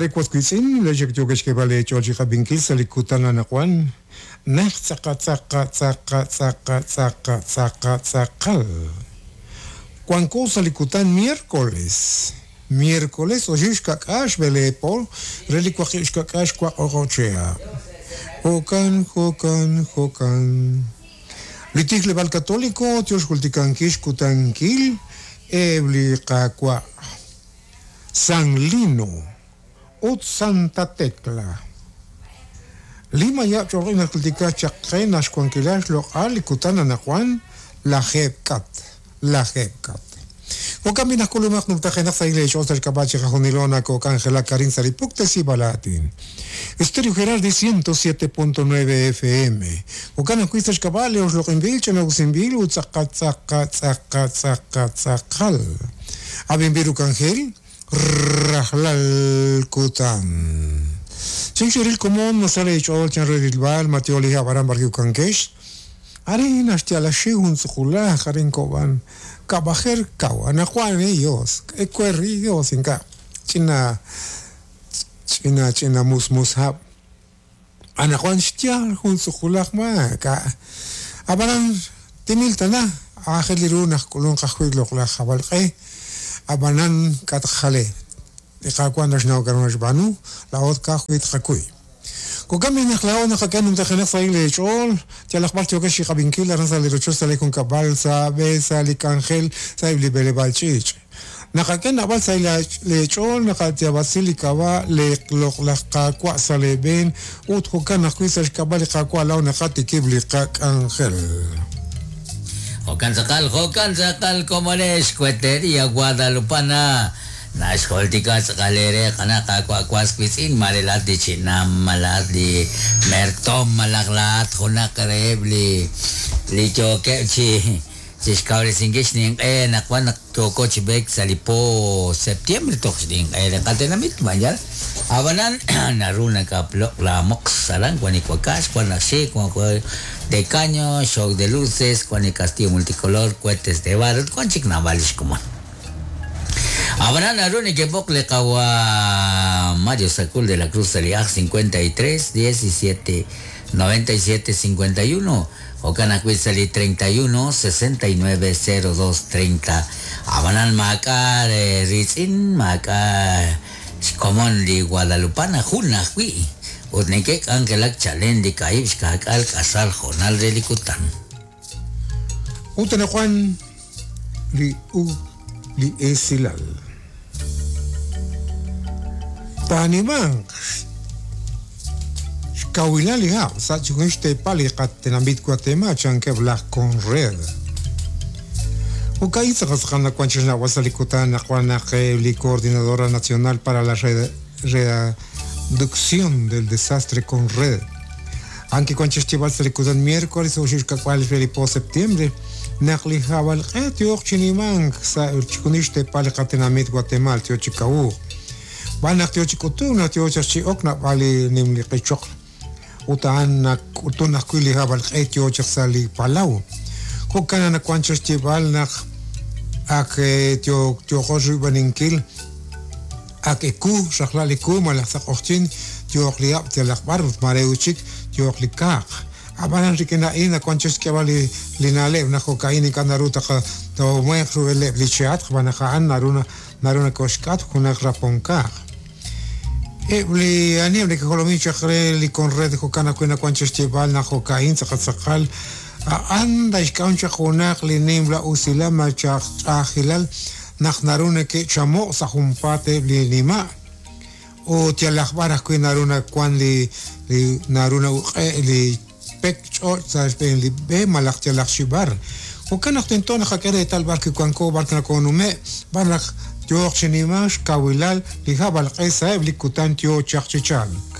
Tere was wiitz'in, laa'ex ak yookex xk'eeb'al eech'ool chi qab'inkil sa' li kutan anaqwan, naj tz'aqa tz'aqa tz'aqa tz'aqa tz'aqa tz'aqa tz'aqal. Wanko sa' li kutan miércoles, miércoles oxib' xka'k'aal xb'eleeb' po re li waqib' xka'k'aal xwaq o'q'ob' chihab'. Jo'kan, jo'kan, jo'kan. Li tijleb'aal Katoliko yo xjultikankil xkutankil eb' li Qaawa' San Lino ut Santa Tecla. Li mayab' ch'olq'in naxjultika chaq qe naq xwankilal xloq'al li kutan anaqwan lajeeb' kat, lajeeb' kat. Jo'kan b'i' naq k'ulumaq numtajenaq sahil eech'ool sa' xk'ab'a' chiqajunilo nakook'anjelak arin sa' li puktesib'al aatin. Estéreo Gerardi 107.9 FM. Jo'kan ajwi' sa' xk'ab'a' li oxloq'inb'il, ch'ina'usinb'il ut tz'aqal tz'aqal tz'aqal tz'aqal tz'aqal. Ab'inb'il ru k'anjel rajlal kutan. Chinxeril komon nasal eech'ool chan re rilb'al ma tyo li hab' aran b'arwi' wankex. Arin naxyalaxi jun tz'uqulaj arin kob'an kab'ajer kaw anaqwan Dios ewer Dios ink'a' ch'ina ch'ina ch'ina musmus hab' anaqwan xyaal jun tz'uqulaj maak'a' ab'anan timil tana aajel li ru naq k'ulunq ajwi' loq'laj jab'alq'e ab'anan k'a tqajale li Qaawa' naxnaw k'a'ru naxb'aanu laa'o ka'ajwi' tqakuy. Jo'kan b'i' naq laa'o naqak'e numtajenaq sahil eech'ool, yalaq b'ar yookex chi qab'inkil aran sa' li rochoch, sa' li junkab'al, sa' b'e, sa' li k'anjel, sa'eb' li b'eleb'aal ch'iich'. Naqak'e naab'al sahil leech'ool, naqayaab'asi li k'ab'a' li loq'laj Qaawa' sa' leeb'een ut jo'kan ajwi' sa' xk'ab'a' li Qaawa' laa'o naqatikib' li qak'anjel. Jo'kan tz'aqal, jo'kan tz'aqal komonex, Cuetería Guadalupana. Naxjultika tz'aqal eere qana' Qaawa' was wiitz'in, maare laa'at li chinam, malaj li mertoom, malaj laa'at junaq reheb' li li yookeb' chi chixkawresinkil xninq'e anaqwan naq yooko chi b'eek sa' li po septiembre toj xninq'e li qatenamit, ma yaal? Ab'anan naru nakaploq' laamoqs aran wan li wakax, wan laj xik, wan de caño, show de luces, wan li castillo multicolor, cohetes de barro, ut wan chik naab'al li xkomon. Ab'anan naru nekeb'oq li qawa' Mario Sacul de la Cruz sa' li aj 53 17 97 51, jo'kan ajwi' sa' li 31 69 02 30. Ab'anan maak'a' riitz'in, maak'a' xkomon li Guadalupana, jun ajwi', ut neke'k'anjelak chalen li kaahib' xkaak'aal k'asal hoonal re li kutan. Ut anaqwan li u li esilal. Taanimanq xkawilal li hab' sa' chixjunil xteepal li qatenamit Watemaal, chankeb' laj Conred. Jo'ka'in tz'aqal tz'aqal nawank chi xnawb'al sa' li kutan anaqwan naq li Coordinadora Nacional para la Reducción del Desastre Conred, A'an kiwank chi xyeeb'al sa' li kutan miércoles oxib' xka'k'aal re li po septiembre, naq li hab'alq'e yooq chi nimank sa' chixjunil xteepal li qatenamit Watemaal yo chi kawuuk. B'an naq yo chi k'utunk naq yo chaq chi ok naab'al li nimli qichoql ut a'an nak'utun ajwi' li hab'alq'e yo chaq sa' li palaw. Jo'kan naq nawank chaq xyeeb'al naq ak yooqo xwiib'aninkil Ak ewu, rajlal ewu malaj sa' q'oqyink yooq li hab' yalaq b'ar ut maare ut chik yooq li kaaq. Ab'anan rik'in a'in nawank chik xk'eb'al li na'leb' naq jo'ka'in ink'a' naru taqatawmanq rub'eleb' li chehatq xb'aan naq a'an naru naru nakoxk'atq junaq rapon kaaq. Eb' li aniheb' neke'jolomin chaq re li Conred jo'kan ajwi' nawank chik xyeeb'al naq jo'ka'in tz'aqal tz'aqal a'an naxk'am chaq junaq li nimla usilal malaj ch'a'ajkilal naq naru neke'chamo' sa' junpaat eb' li nima' ut yalaq b'ar ajwi' naru nawan li li naru na'uq'e' li pek ch'och' sa' xb'een li b'e malaj yalaq chi b'ar. Jo'kan naq tento naqak'e reetal b'ar kiwanko b'ar nakonume' b'ar naq yooq chi nimank xkawilal li hab'alq'e sa'eb' li kutan yoo chaq chi chalk.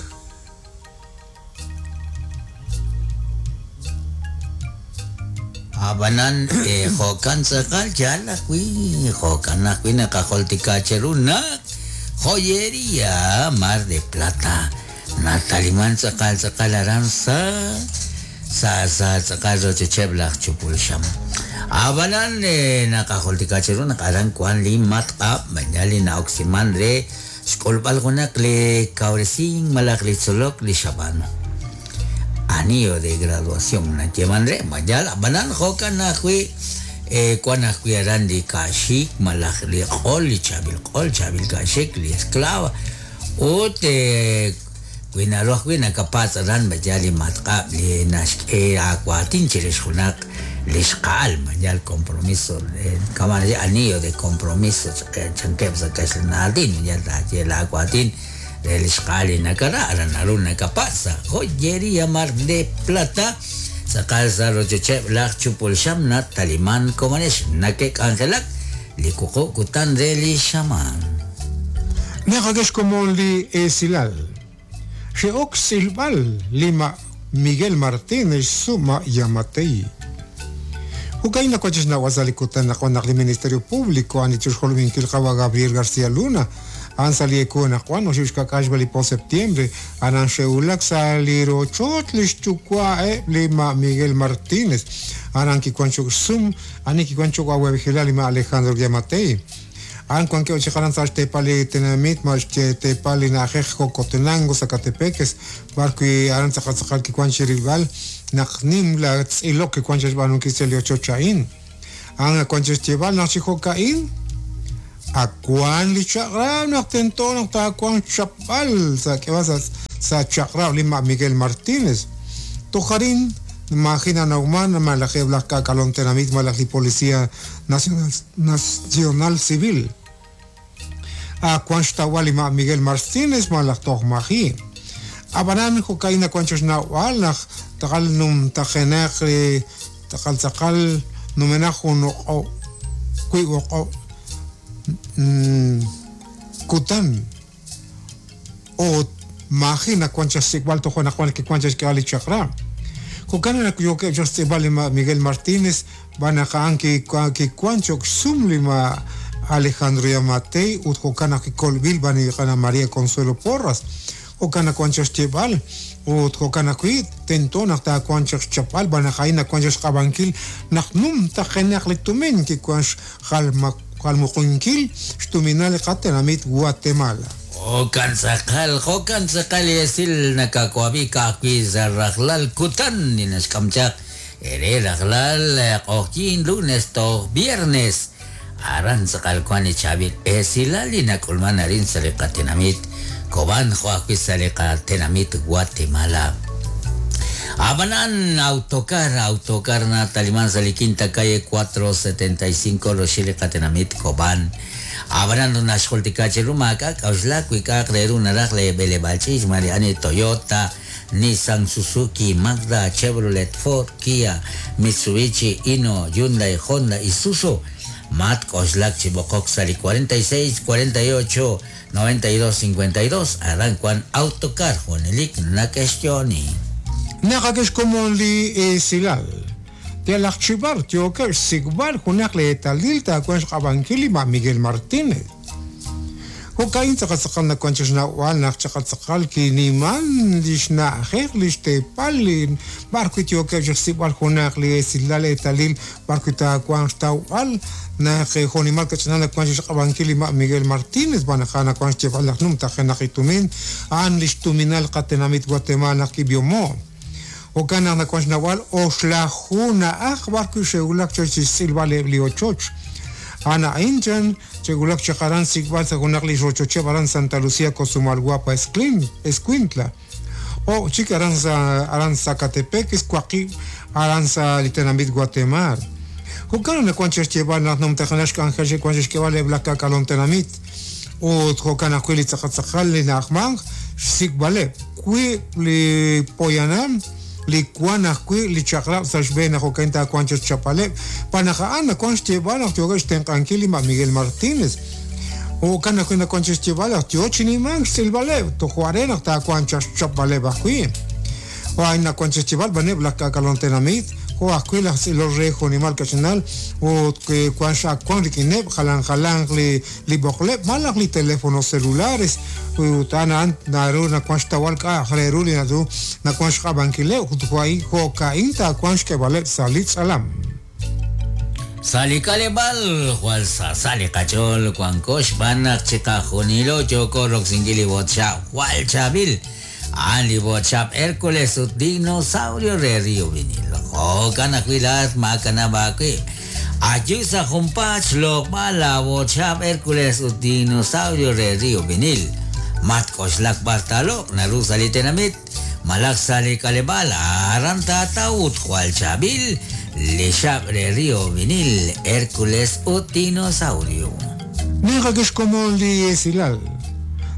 Ab'anan jo'kan tz'aqal yaal ajwi', jo'kan ajwi' naqajultika cheru naq Joyeria Mar de Plata nataliman tz'aqal tz'aqal aran sa' sa' sa' tz'aqal rochocheb' laj chupul xam. Ab'anan naqajultika cheru naq aran wan li matq'ab' mañal li na'oksiman re. Xk'ulb'al junaq li kawresink malaj li tzolok li xab'aanu. Anillo de graduación nayeeman re, ma yaal? Ab'anan jo'kan ajwi' wan ajwi' aran li ka'xik malaj li q'ol, li chaab'il q'ol, chaab'il ka'xik, li esclava. Ut wi naru ajwi' nakapatz' aran ma yaal li matq'ab' li naxk'e aawaatin chirix junaq li xqa'al, ma yaal compromiso, kama' naxye anillo de compromiso chankeb' sa' kaxlan aatin, ma yaal taaye laawaatin re li xqa'al li nakara, aran naru nakapatz' sa' Joyería Mar de Plata, tz'aqal sa' rochocheb' laj chupul xam nataliman komonex nake'k'anjelak li wuqub' kutan re li xamaan. Naqak'e xkomon li esilal. Xe'ok xtz'ilb'al li ma' Miguel Martínez xsu' ma' Yamatei. Jo'ka'in nawank chi xnawb'al sa' li kutan naq wan naq li Ministerio Público a'an li chixjolominkil qawa' Gabriel García Luna a'an sa' li ewu anaqwan oxib' xka'k'aal xb'e li po septiembre aran xe'wulak sa' li rochoch li xyuwa' eb' li ma' Miguel Martínez aran kiwank cho'q xsum ani kiwank cho'q awa'b'ejilal li ma' Alejandro Giammattei. A'an wankeb' chaq aran sa' xteepal li tenamit ma' xteepal li na'ajej Jocotenango, Sacatepéquez, b'ar wi' aran tz'aqal tz'aqal kiwank chi rilb'al naq nimla tz'ilok kiwank chi xb'aanunkil sa' li ochoch a'in. A'an nawank chi xyeeb'al naq chi jo'ka'in ak wank li chaq'rab' naq tento naq taawanq xchapb'al sa' k'eeb'al sa' chaq'rab' li ma' Miguel Martínez. Toj arin maaji' nanawman malaj eb' laj k'aak'alom tenamit malaj li Policía Nacional Civil. Ak wank xtawb'al li ma' Miguel Martínez malaj toj maji'. Ab'anan jo'ka'in nawank chi xnawb'al naq tz'aqal numtajenaq li tz'aqal tz'aqal numenaq jun o'q'ob' wiib' o'q'ob' kutan ut maaji' nawank chaq xsik'b'al toj anaqwan kiwank chaq xk'ehal li chaq'rab'. Jo'kan naq yookeb' chaq xtz'iib'al li ma' Miguel Martínez xb'aan naq a'an kiwank cho'q xsum li ma' Alejandro Yamatei ut jo'kan naq kikolb'il b'an li qana' María Consuelo Porras. Jo'kan nawank chaq xyeeb'al ut jo'kan ajwi' tento naq taawanq chaq xchapb'al b'an naq a'in nawank chaq xq'ab'ankil naq numtajenaq li tumin kiwank xjalmuqunkil xtuminal li qatenamit Guatemala. Jo'kan tz'aqal, jo'kan tz'aqal li esil nakawab'i ka'ajwi' sa' rajlal kutan li naxk'am chaq ere rajlal q'oqyink lunes toj viernes. Aran tz'aqal wank li chaab'il esilal li nak'ulman arin sa' li qatenamit Cobán jo' ajwi' sa' li qatenamit Guatemala. Ab'anan, Autocar, Autocar nataliman sa' li Quinta Calle 475 roxil li qatenamit Cobán. Ab'anan naxjultika cheru maak'a' k'a'uxlak wi k'a'aq re ru naraj leeb'eleb'aal ch'iich' mare ani Toyota, Nissan, Suzuki, Mazda, Chevrolet, Ford, Kia, Mitsubishi, Hino, Hyundai, Honda, Isuzu. Matk'oxlak chi b'oqok sa' li 46 48 92 52 aran wank Autocar junelik nake'xyo'oni. Naqak'e xkomon li esilal. Yalaq chi b'ar yookeb' xsik'b'al junaq li eetalil taawanq xq'ab'ankil li ma' Miguel Martínez. Jo'ka'in tz'aqal tz'aqal nawank chi xnawb'al naq tz'aqal tz'aqal kiniman li xna'ajej li xteepal li b'ar wi' yookeb' chi xsik'b'al junaq li esilal eetalil b'ar wi' taawanq xtawb'al naq jo'nimal kach'inal nawank chi xq'ab'ankil li ma' Miguel Martínez xb'aan naq a'an nawank xyeeb'al naq numtajenaq li tumin a'an li xtuminal qatenamit Guatemala naq kib'ihomo'. Jo'kan naq nawank xnawb'al oxlaju na'aj b'ar wi' xe'wulak chaq chi xtz'ilb'al eb' li ochoch. A'an a'in chan xe'wulak chaq aran xsik'b'al sa' junaq li rochocheb' aran Santa Lucía Cotzumalguapa Escuintla. O' chik aran sa' aran Sacatepéquez waqib' aran sa' li tenamit Guatemala. Jo'kan naq nawank chaq xyeeb'al naq numtajenaq xk'anjel xe'wank chi xk'eeb'al eb' laj k'aak'alom tenamit ut jo'kan ajwi' li tz'aqal tz'aqal li na'ajmank xsik'b'aleb' wiib' li poyanam li wank ajwi' li chaq'rab' sa' xb'een naq jo'kan taawanq chaq xchapb'aleb' xb'aan naq a'an nawank xyeeb'al naq yookeb' xtenq'ankil li ma' Miguel Martínez. Jo'kan ajwi' nawank chaq xyeeb'al naq yoo chi nimank xtz'ilb'aleb' toj are naq taawanq chaq xchapb'aleb' ajwi'. Jo' a'in nawank chaq xyeeb'al b'aneb' laj k'aak'alom tenamit, jo' ajwi' laj tz'ilol re jo'nimal kach'inal ut wank x'ak wank rik'ineb' jalan jalanq li b'oqleb' malaj li teléfonos celulares ut a'an a'an naru nawank xtawb'al k'a'aq re ru li naru nawank xq'ab'ankileb' ut jo'ka'in taawanq xk'eeb'aleb' sa' li tz'alam. Sa' li k'aleb'aal jwal sa sa li qach'ool wanko xb'aan naq chiqajunilo yooko roksinkil li b'otxab' jwal chaab'il. A'an li b'otxab' Hércules ut Dinosaurio re Rio Vinil. Jo'kan ajwi' laa'at maakanab' aawib'. Ayu sa' junpaat xloq'b'al laab'otxab' Hércules ut Dinosaurio re Rio Vinil. Matk'oxlak b'ar taaloq' naru sa' li tenamit malaj sa' li k'aleb'aal aran taataw ut jwal chaab'il li xab' re Rio Vinil, Hércules ut Dinosaurio. Ninqak'e xkomon li esilal.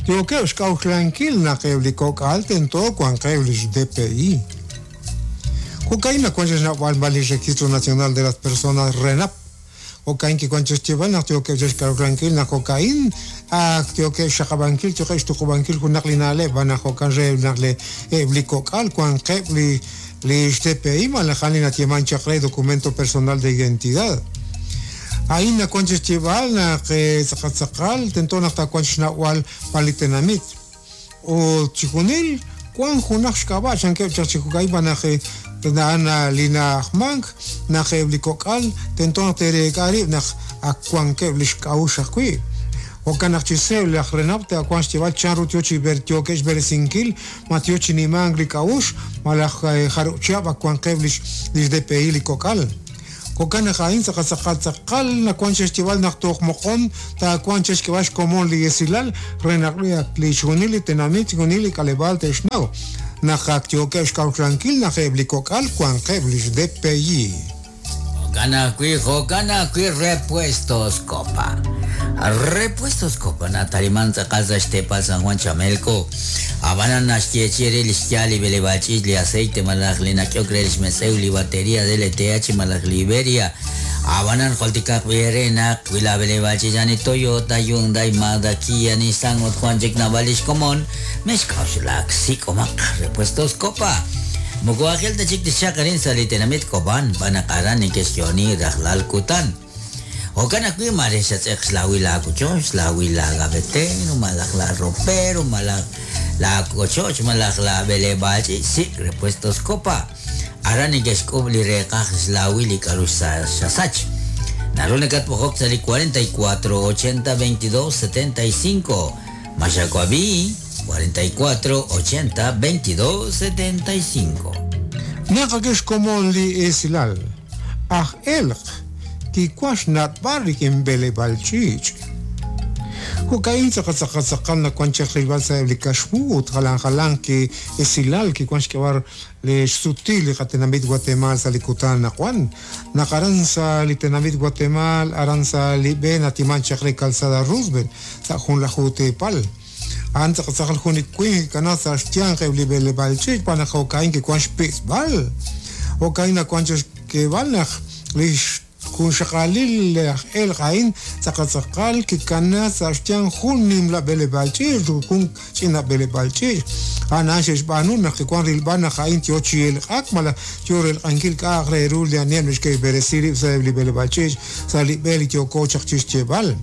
Yookeb' xk'a'uxlankil naq eb' li kok'al tento wanqeb' li xDPI. Jo'ka'in nawank xnawb'al li Registro Nacional de las Personas RENAP. Jo'ka'in kiwank xyeeb'al naq yookeb' xk'a'uxlankil naq jo'ka'in ak yookeb' xxaqab'ankil yookeb' xtuqub'ankil junaq li na'leb' b'an naq jo'kan re naq eb' li kok'al wanqeb' li li xDPI malaj a'an li nayeeman chaq re Documento Personal de Identidad. A'in nawank xyeeb'al naq tz'aqal tz'aqal tento naq taawanq xnawb'al pa li tenamit. Ut chixjunil wank junaq xk'ab'a' chankeb' chaq chi jo'ka'in b'an naq a'an li na'ajmank naq eb' li kok'al tento naq te'reek'a rib' naq ak wankeb' li xk'a'uxl ajwi'. Jo'kan naq chi seeb' laj RENAP taawanq xyeeb'al chan ru yo chi yookeb' xb'eresinkil ma yo chi nimank li k'a'uxl malaj jarub' chihab' ak wanqeb' li xDPI li kok'al. Jo'kan naq a'in tz'aqal tz'aqal tz'aqal nawank xyeeb'al naq toj moqon taawanq xk'eeb'al xkomon li esilal re naq li chixjunil li tenamit chixjunil li k'aleb'aal te'xnaw naq ak yookeb' xk'a'uxlankil naq eb' li kok'al wanqeb' li xDPI. Jo'kan ajwi', jo'kan ajwi' Repuestos Copa. Repuestos Copa nataliman tz'aqal sa' xteepal San Juan Chamelco. Ab'anan naxyeechi'i re li xyaal li b'eleb'aal ch'iich' li aceite malaj li nak'ehok re li xmetz'ew li bateria DLTH malaj Liberia. Ab'anan jultikaq b'i eere naq wi laab'eleb'aal ch'iich' a'an li Toyota, Hyundai, Mazda, Kia, Nissan ut wank chik naab'al li xkomon, mexk'a'uxlak, sik'omaq Repuestos Copa. Moko aajel ta chik tixchaq arin sa' li tenamit Cobán, xb'aan naq aran neke'xyo'oni rajlal kutan. Jo'kan ajwi' maare xatz'eq xlawil laawochoch, xlawil laagavetero, malaj laaropero, malaj laawochoch, malaj laab'eleb'aal ch'iich', sik' Repuestos Copa. Aran neke'xk'ub' li reeqaj xlawil li k'aru xasach. Naru nakatb'oqok sa' li 44 80 22 75. Ma xawab'i? 44 80 22 75. Naqak'e xkomon li esilal. Aj elq' kiwank xnat'b'al rik'in b'eleb'aal ch'iich'. Jo'ka'in tz'aqal tz'aqal tz'aqal nawank chaq rilb'al sa'eb' li kaxmu ut jalan jalanq ki esilal kiwank xk'eb'al li xsutil li qatenamit Guatemaal sa' li kutan anaqwan. Naq aran sa' li tenamit Guatemaal aran sa' li b'e natiman chaq re Calzada Roosevelt sa' junlaju teepal. A'an tz'aqal tz'aqal jun li winq kikanaak sa' xyanq eb' li b'eleb'aal ch'iich' xb'aan naq jo'ka'in kiwank xpitz'b'al. Jo'ka'in nawank chaq xk'eeb'al naq li xjunxaqalil laj elq' a'in tz'aqal tz'aqal kikanaak sa' xyanq jun nimla b'eleb'aal ch'iich' ut jun ch'ina b'eleb'aal ch'iich'. A'an a'an xe'xb'aanu naq kiwank rilb'al naq a'in yo chi elq'ak malaj yo relq'ankil k'a'aq re ru li aniheb' neke'xb'eresi rib' sa'eb' li b'eleb'aal ch'iich' sa' li b'e li yooko chaq chi xyeeb'al.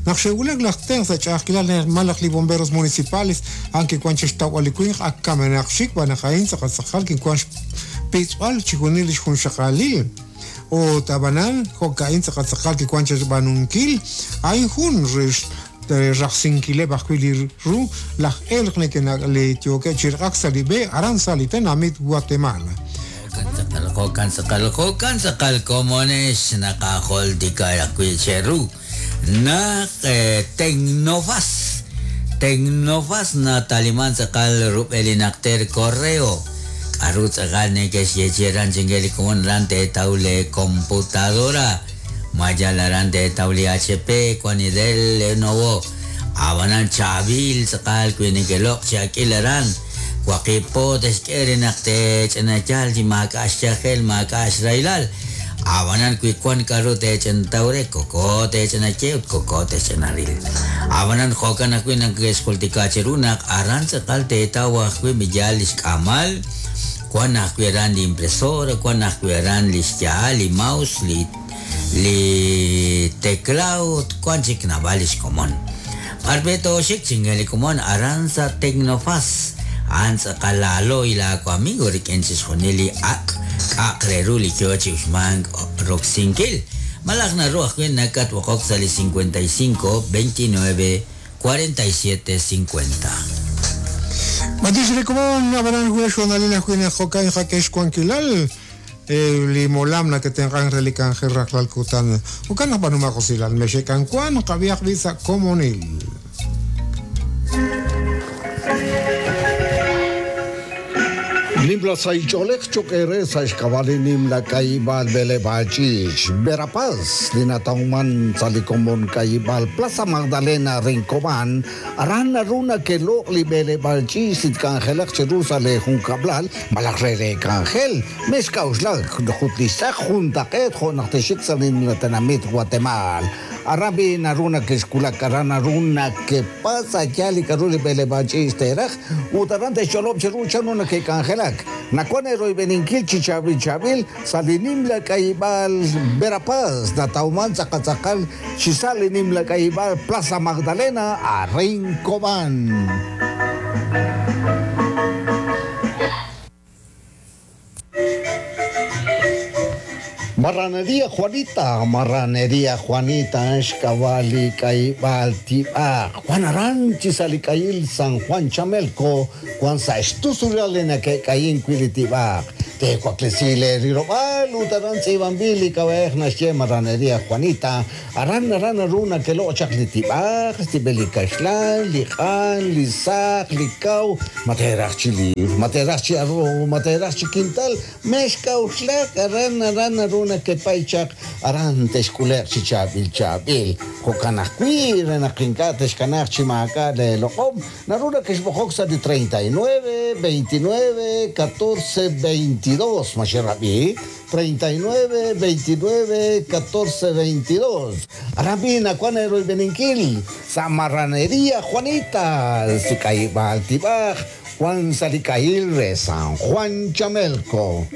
Naq xe'wulak laj tenq' sa' ch'a'ajkilal malaj li bomberos municipales, a'an kiwank chi xtawb'al li winq ak kamenaq xik xb'aan naq a'in tz'aqal tz'aqal kiwank xpitz'b'al chixjunil li xjunxaqalil. Ut ab'anan, jo'ka'in tz'aqal tz'aqal kiwank chi xb'aanunkil, a'in jun re rajsinkileb' ajwi' li ru laj elq li yookeb' chi raq'ak sa' li b'e aran sa' li tenamit Guatemala. Jo'kan tz'aqal, jo'kan tz'aqal, jo'kan tz'aqal komonex naqajultika ajwi' cheru naq Tecnofaz, Tecnofaz nataliman tz'aqal rub'el li najter correo. K'aru tz'aqal neke'xyeechi'i aran chink'e li komon aran teetaw lee computadora, ma yal aran teetaw li HP, wan li Dell, Lenovo. Ab'anan chaab'il tz'aqal wi neke'loq' chi ak'il aran. Waqib' po te'xk'e re naq teech'ina yaal chi maak'a' xyajel, maak'a' xrahilal. Ab'anan wi wank k'aru teech'intaw re, koko teech'ina ye ut koko te'xch'ina ril. Ab'anan jo'kan ajwi' neke'xjultika cheru naq aran tz'aqal teetaw ajwi' yaal li xk'aamal, wank ajwi' aran li impresora, wank ajwi' aran li xya'al, li mouse, li li teclado ut wank chik naab'al li xkomon. B'ar b'e tooxik chink'e li komon aran sa' Tecnofaz, a'an tz'aqal laalo'y laawamigo rik'in chixjunil li ak' k'a'aq re ru li yo chi uxmank roksinkil. Malaj naru ajwi' nakatb'oqok sa' li 55 29 47 50. Matix re komon ab'anan wulaj xhoonalil ajwi' naq jo'kan qak'e xwankilal li molam nake'tenq'ank re li k'anjel rajlal kutan. Jo'kan naq b'aanumaq usilal mexe'k'anwank qab'ihaq b'i' sa' komonil. Nimla sahil ch'oolej cho'q eere sa' xk'ab'a' li nimla k'ayib'aal b'eleb'aal ch'iich' Verapaz li natawman sa' li komon k'ayib'aal Plaza Magdalena Rincobán aran naru nake'loq' li b'eleb'aal ch'iich li tk'anjelaq cheru sa' leejunkab'lal malaj re leek'anjel mexk'a'uxlak jut li xtz'aq juntaq'eet jo' naq texik sa' li nimla tenamit Guatemaal aran b'i' naru nake'xwulak aran naru nakepatz' a' yaal li k'a'ru li b'eleb'aal ch'iich teeraj ut aran te'xch'olob' cheru chanru nake'k'anjelak nawank eeroyb'eninkil chi chaab'il chaab'il sa' li nimla k'ayib'aal Verapaz natawman tz'aqal tz'aqal chi sa' li nimla k'ayib'aal Plaza Magdalena a Rincobán. Marranería Juanita, Marranería Juanita, xk'ab'a' li k'ayib'aal tib'aq. Juan aran chi sa' li k'ayil San Juan Chamelco, wan sa' xtusulal li nake'k'ayin wi' li tib'aq. Teewaklesi leerilob'aal ut aran tz'iib'anb'il li k'ab'a'ej naxye Marranería Juanita, aran aran naru nakeloq' chaq li tib'aq, xtib'el li kaxlan, li q'an, li saq, li kaw, ma teeraj chi liir, ma teeraj chi arroz, ma teeraj chi kintal, mexk'a'uxlak aran aran naru nakepay chaq aran texk'ule'q chi chaab'il chaab'il. Jo'kan ajwi' re naq ink'a' texkanaaq chi maak'a' leeloq'om, naru nakexb'oqok sa' li 39 29 14 22 ma xerab'i 39 29 14 22 aran b'i' nawank eeroyb'eninkil sa' Marranería Juanita si k'ayib'aal tib'aj Juan sa' li k'ayil re San Juan Chamelco.